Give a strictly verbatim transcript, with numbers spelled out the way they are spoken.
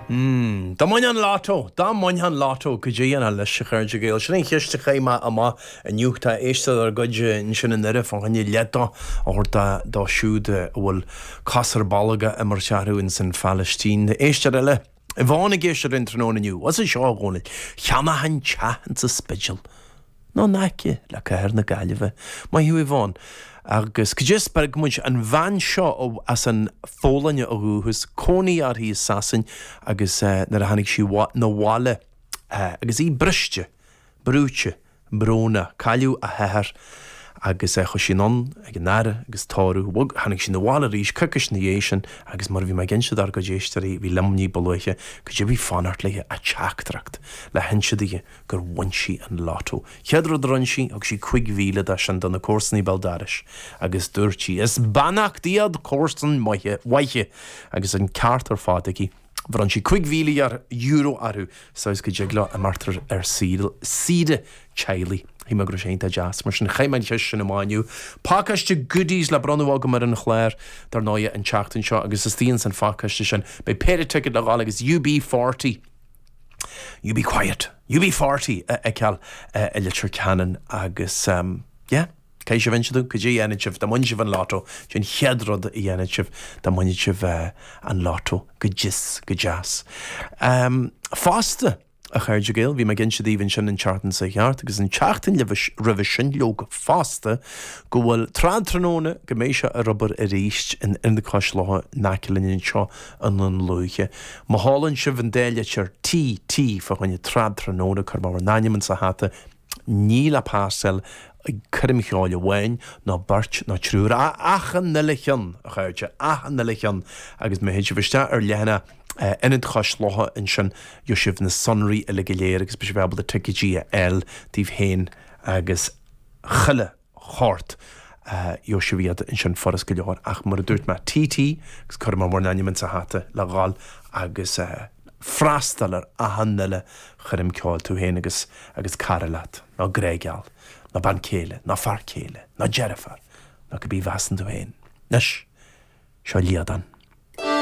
Dá mbainfeá an lotto, dá mbainfeá an lotto, cad é a dhéanfá leis, a chairde Gael. Sin an cheist a chaith mé amach inniu. Tá éisteoir dár gcuid ansin i nDoire fá choinne leath dó a thabhairt dóibh siúd a bhfuil cos ar bolg á imirt orthu ins an Phalaistín. Éisteoir eile, Yvonne ag éisteacht linn tráthnóna inniu. What's seo, a Dhónaill? Cheannóchainn teach insa Spidéal. Nó in aice le cathair na Gaillimhe. Maith thú Yvonne. Agus cad é a spreag muid an bhean seo as an Pholainn ó dhúchas, cónaí uirthi i Sasain agus nuair a tháinig sí 'na bhaile agus í briste, brúite, brónach, cailleadh a hathair agus chuaigh sí anonn ag an fhaire agus tórramh, bhog, tháinig sí 'na bhaile arís coicís ina dhiaidh sin agus mar a bhí mé ag inse dár gcuid éisteoirí, bhí liom ní ba luaithe, cad é a bhí fanacht léi ach teachtaireacht le hinse di gur bhain sí an lotto. Chéad rud a rinne sí, thug sí cúig mhíle de sin do na comharsanaí béal dorais agus dúirt sí, Is beannacht iad comharsain mhaithe agus an ceart ar fad aici. Bhronn sí cúig mhíle euro orthu saghas go dtig leo imeacht ar saoire teaghlaigh. Shíl mé go raibh sé iontach deas. Mar sin, chaith mé an cheist sin amach inniu. Pacáiste goodies le bronnadh agam ar an chlár, dar ndóigh, an tseachtain seo agus istigh ins an phacáiste sin beidh péire ticket le dhul agus U B forty. You be quiet, U B forty a fheiceáil i Leitir Ceanainn agus yeah, caithfidh sibh inse dom cad é a dhéanfaidh sibh dá mbainfeadh sibh an lotto, cad é an chéad rud a dhéanfaidh sibh dá mbainfeadh sibh an lotto, go dios, go deas. Fosta, a chairde Gael, bhí mé ag inse daoibh ansin an tseachtain seo thart agus an tseachtain roimhe sin leoga fosta go bhfuil tráthnóna go mbeidh sé ar obair arís in Ionad Cois Locha in aice linn anseo i nDún Lúiche. Má sheolann sibh an dá litir T T fá choinne tráthnóna cuirfidh mé bhur n-ainm insa hata, níl le pasáil ag coirm cheoil amháin ná beirt ná triúr ach achan uile cheann, a chairde, achan uile cheann agus má théann sibh isteach ar leathanach Ionad Chois Locha ansin gheobhaidh sibh na sonraí uile go léir agus beidh sibh ábalta ticéidí a fháil daoibh féin agus chuile shórt. Gheobhaidh sibh iad ansin furast go leor ach mar a dúirt mé T T agus cuirfidh mé bhur n-ainm insa hata le dhul agus freastal ar achan uile choirm ceoil, tú féin agus agus cara leat, nó grá-gheal, nó bean chéile, nó fear céile, nó deirfiúr, nó cibé a mheasann tú féin. Anois, seo Liadán.